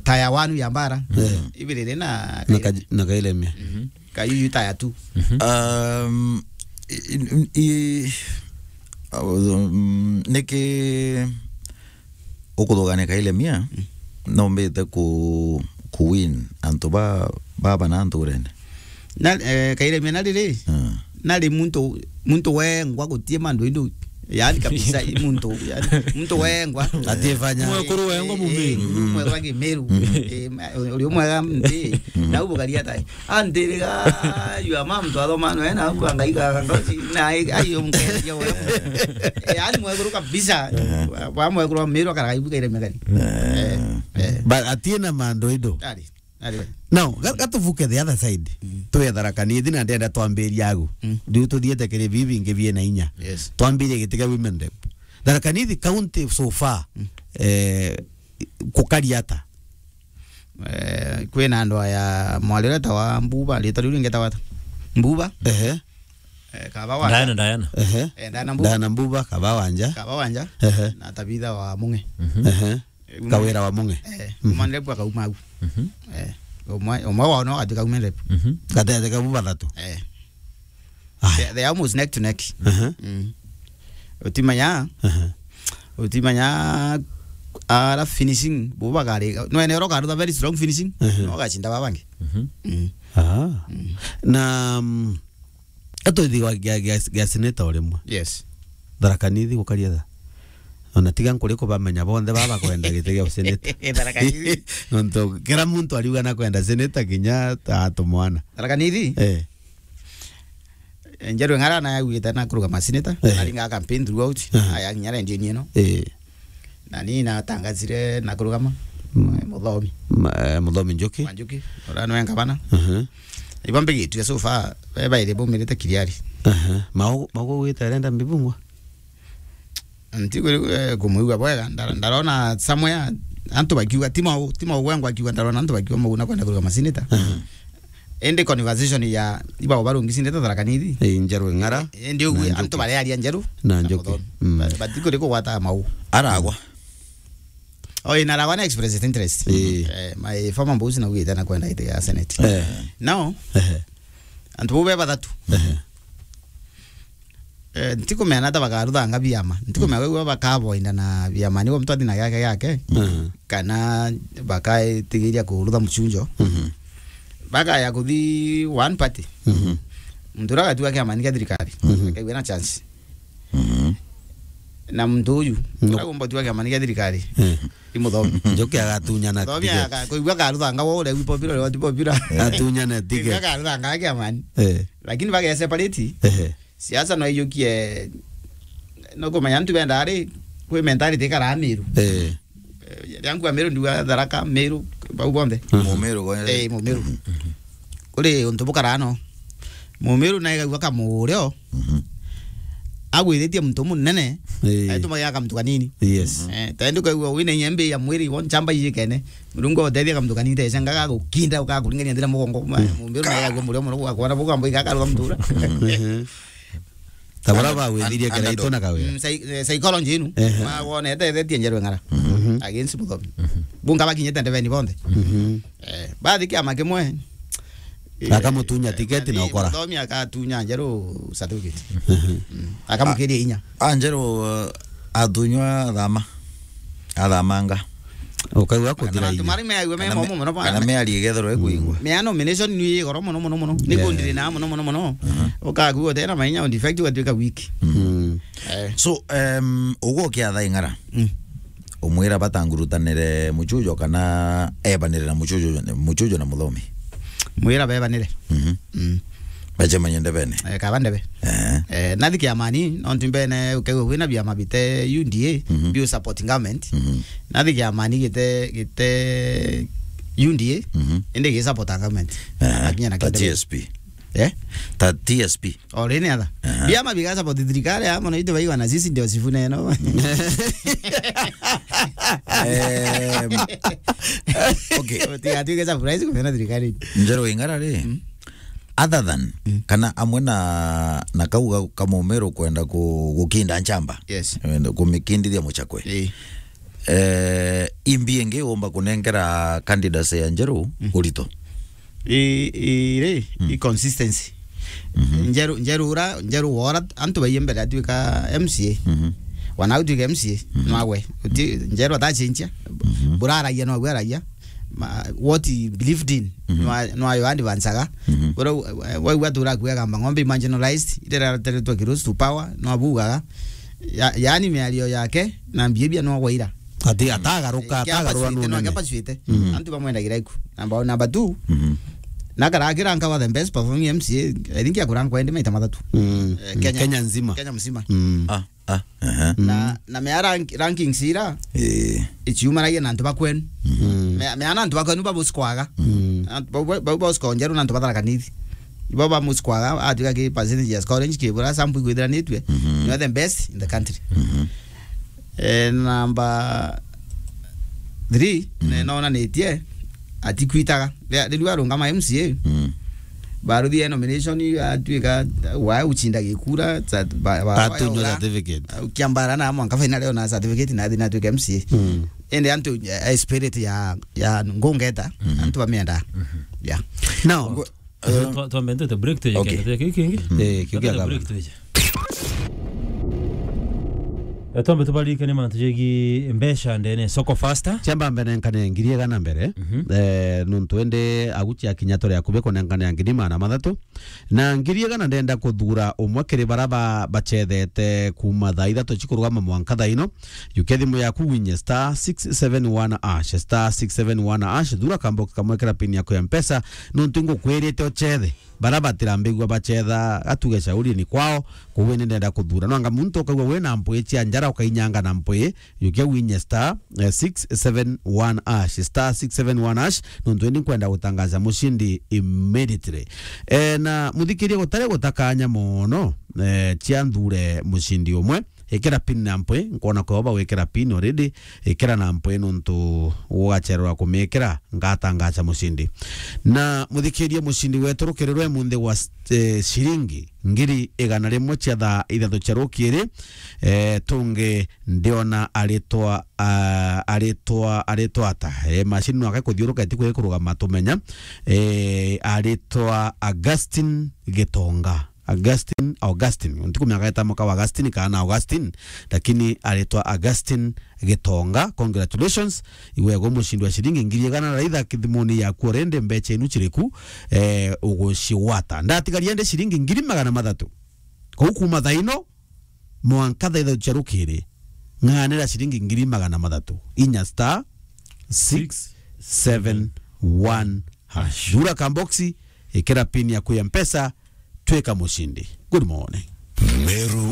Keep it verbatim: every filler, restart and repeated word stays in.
taya wanu ya mbara. Eh. Ibirire na Na Kairemia. Ka-, na Kairemia. Mhm. Kayuyu taya tu. Mhm. Um, i-, i-, i-, um, niki ukuthugania Kairemia, mm, nombite ku, ku win antu ba, ba bana nturene. Na, eh, Kairemia na riri, mm, nari muntu, muntu wengwa gutie mandu indu. Yani kabisa, i muntu, yani, muntu wengwa. Atifanya. Mwekuru wengwa Mumiru. Eh, mwekuru wa Kimiru. Mm. Eh, ma-, uri mwega nti. Mm. Na ubugaria tai. Antiriga, your mom twathoma no ena, au angaika ngoci, na ai, ai, umkeria ura. Eh, yani mwekuru kabisa. Eh. Wa, wa mwekuru wa Miru akaraga ibuka ile megani. Eh. Eh, eh. But atie na mandu indo. Ari, ari. Now, ga-, gatuvuke the other side. Mm. Twe Tharaka Nithi na ndenda twambiria agu. Mm. Riu tuthiete kiri bibi ingi biena inya. Yes. Twambirie giti kia women rep. Tharaka Nithi county so far, mm, eh, kukari ata? Eh, kwina andu aya mwari uria etawa Mbuba, rita riu ringi etawa ata? Mbuba? Ehe. Eh, Kaba Wanja. Diana, Diana. Ehe. Eh, Diana Mbuba. Diana Mbuba, Kaba Wanja. Kaba Wanja. Ehe. Na Tabitha wa Munge. Mhm. Ehe. Eh, Kawira wa Munge. Eh, mhm, woman rep akauma au. Mhm. Eh, umwe, umwe wao no agatuika women rep. Mhm. Gatete kau bathatu. Eh. Aya. They, they are almost neck to neck. Aha. Mm. Utimanya, aha, utimanya ara finishing, bo bagari, no ene oro karuta very strong finishing, aha, no gacinda babangi. Mhm. Mm. Ah. Mm. Na, mm, atoithi wa gia, gia, gia senator urimwe. Yes. Tharaka Nithi gukaria tha. Ona tiga nkuri kubamenya bonthe baba kwenda giti gia senator. Tharaka Nithi. Nontu kira muntu ariuga na kwenda senator kinya ta atumwana. Tharaka Nithi? Eh. Njeru Ng'ara na augite na kurugama senator, eh, aringa campaign throughout, aha, aya nginya rendio nieno. Eh. Na ni natangazire na kurugama, mm, Muthomi. Ma-, eh, Muthomi Njuki. Wa Njuki, ura nwe ngavana. Mhm. Ibo mbigitue so far, be bairi baumirite Kiriari. Aha. Mau, mau gwita arenda mbibungwa? Nti kuri, eh, kumwigua bwega, ndara-, ndarona somewhere antu bakiuga, ti mau, ti mau gwengwa akiuga, ndarona antu bakiuga mau na kwenda kurugama senator. Aha. Indi conversation ya ibao barungi senator Tharaka Nithi. Eh, Njeru Ng'ara. Indi ugu na antu Njuki. Barearia Njeru na na Njuki. Muthomi. Mm. Ba-, bati kuri kugwata mau. Aragwa. Oh, ina Aragwa na express interest. Eh. Eh, my former boss na ugite na kwenda ite ya senate. Eh. Now, ehe, antu bau be bathatu. Ehe. Eh, ntikumenya ta bakaruthanga biama. Ntikumenya, mm, gwe bakavoinda na biama, nigo mtu athi na giake giake. Mhm. Kana bakaitigiria kurutha mucunjo. Mhm. Bakaya kuthi one party. Mhm. Muntu uria agatua kiama ni kia thirikari. Mhm. Akaigua na chance. Mhm. Na muntu uyu, no, uria agomba gutua kiama ni kia thirikari. Eh. Ni Muthomi. Njuki agatunyana Muthomi ticket. Aka-, kuigua akaruthanga wo uria wi popular, uria ti popular. Atunyana ticket. Kuigua akaruthanga kiamani. Eh. Lakini bage separate. Ehe. Siasa no ijukie, no kumenya antu benda ari, kwi mentality ikara Miru. Eh. Eh, riria nkua Miru ndiuga Tharaka, Miru, bau bonthe. Mhm. Mumiru gwe. Eh, Mumiru. Mhm. Kuri untu bukara no. Mumiru na igaigua kamurio. Mhm. Agwithitie muntu munene. Eh. Aitumagira kamuntu kanini. Yes. Eh, ta indi ukaigua wina inya mbi ya mwiri, wo nchamba ijikene. Murungu utethia kamuntu kanini, tecenga gagukinda, ukakuringania nthira mugongo. Mhm. Mumiru na igaigua murio muno, gwakwona bugambo igakarutha mutura. Mhm. Ta bara bagwithirie Karaito na Kawira. Mm, psy-, eh, psychology inu. Ehe. Magwonete ethetie Njeru Ng'ara. Mhm. Against Muthomi. Mhm. Bunga bakinyite ndebeni bonthe. Mhm. Eh, bathi kiama kimwe. Akamutunya tiketi na ukora. Muthomi akatunya Njeru certificate. Mhm. Mm. Akamukiria inya. A, Njeru, uh, atunywa thama. Athamanga. Ukaigua kuthira inya. Mari meagua me momo muno bana. Kana meari igethero ekuigua. Mea nomination ni igoro muno, muno, muno. Ni kundiri na muno, muno, muno. Mhm. Ukagua utena mainya, in fact, ugatuika weak. Mhm. Eh. So, um, ugukia thaing'ara. Mm. Umwira batangurutanire muchujo kana ebanire na muchujo, muchujo na Muthomi? Mwira bebanire. Mhm. Mm. Bacemanie ndebene. Eh, kaba ndebe. Eh. Eh, nathi kiamani, nontu mbene ukaigua kwina biama bite U D A, mhm, biu support government. Mhm. Nathi kiamani gite, gite U D A, mhm, indi gi support government. Eh, akinya na ta kindebe. T S P. Eh? Ta T S P. Already ni atha. Aha. Biama biga support thirikari, amo na itu baigwa na sisi ndio sifune no. Em, okay. Tiga, tiga surprise kumena thirikari. Njeru Ing'ara ri. Mm. Other than, mm, kana amwe na, na kau ga, ka Mumiru kwenda ku, gukinda nchamba. Yes. Kwenda kumikindithia Muchakwe. Eh. Eh, imbi ingi umba kunengera candidates ya Njeru urito? I, i, ri, i consistency. Njeru, Njeru ura, Njeru wora, antu baiye mbere atuika M C A. Wana utuika M C A, nwawe. Uti, Njeru atachinchia. Buraragia nwawe aragia. Ma, what he believed in. Nwa, nwayo advancaga. Bora, wa, wa, wa tura kuega mba ng'ombe marginalized, irera teretwa ki rose to power, nwabugaga. Ya, yaani miario yake, na behavior nwawaira. Ati atagaruka, atagarura none. Antu bamwendagira iku. Number one, number two. Na karakira nkawa the best performing M C A, I think ya kurangwa ende maita mathatu. Eh, Kenya. Kenya nzima. Kenya mzima. Ah, ah, aha. Na, na mea rank-, rankings ira, eh, ichiumaragia na antu bakwenu. Mea, mea na antu bakwenu babusikwaga. Antu bau, bau, bau babusikwa Njeru na antu batharakaniri. Ibo bamusikwaga, atuika ki percentage ya scoring kibura, sample ikwithiranitue. You're the best in the country. Eh, number three, ne nonanitie, atikwitaga. Ria, riu arungama M C A. Baruthia nomination, atuika, wa uchinda gikura, sa-, ba, ba, atunywa certificate. Kiambara na mwanka final yo na certificate na athi na atuika M C A. Ende antu, eh, spirit ya, ya ngungeta, antu bamienda. Yeah. Now, Twa-, twambe ntwite break twije. Okay. Kenda twije kiki kingi. Eh, kiu kia break twije. Eh, twambe tubaririkanie mantu jegi mbeca ndene soko faster. Chamba mbere nkane ngiri igana mbere. Eh, nuntu ende aguchi akinya tore akubi kunengane ngiri magana mathatu. Na ngiri igana ndenda kuthura umwe kiri bara ba-, bachethete kuma thaa ithatu chikurugama mwanka thaa ino. Yukia thimu yaku winye star six seven one hash, star six seven one hash, thura kambox kamwe kira pin yaku ya Mpesa, nuntu ngukwirite uchethe. Bara batirambigua bachetha, gatuge shauri ni kwao, kuu ni ndenda kuthura. Nwanga muntu ukagua wina mpwi chia njara ukainyanga na mpwi, yukia winye star, eh, six seven one hash, star six seven one hash, nuntu indi nkwenda gutangaza mushindi immediately. Eh, na muthikirie gutari gutakanya mono, eh, chia nthure mushindi umwe. Ikira pin na mpwi, nkwona kwao bagwikira pin already, ikira na mpwi nuntu ugachererwa kumikira, ngatangacha mushindi. Na muthikirie mushindi wetu rukirirwe munthi wa st-, eh, shiringi ngiri igana rimwe chia thaa ithatu chia rukiri, eh, tungi ndiona aritwa, ah, aritwa, aritwa ata? Eh, machine no akae kuthiuruka itikwiri kurugama tumenya. Eh, aritwa Augustine Gitonga. Augustine, Augustine. Ntikumenya gaeta muka wa Augustine kana Augustine, lakini aritwa Augustine Gitonga. Congratulations. Iwe go mushindi wa shiringi ngiri igana raitha kithimoni yaku already, mbecha inu chiriku, eh, uguciwata. Ndatigaria ndi shiringi ngiri magana mathatu. Kou kuma thaa ino, mwanka thaa ithatu cia rukiri, ng'anira shiringi ngiri magana mathatu. Inya star six seven one hash. Thura kamboxi, ikira pin yaku ya Mpesa, twika mushindi. Good morning. Meru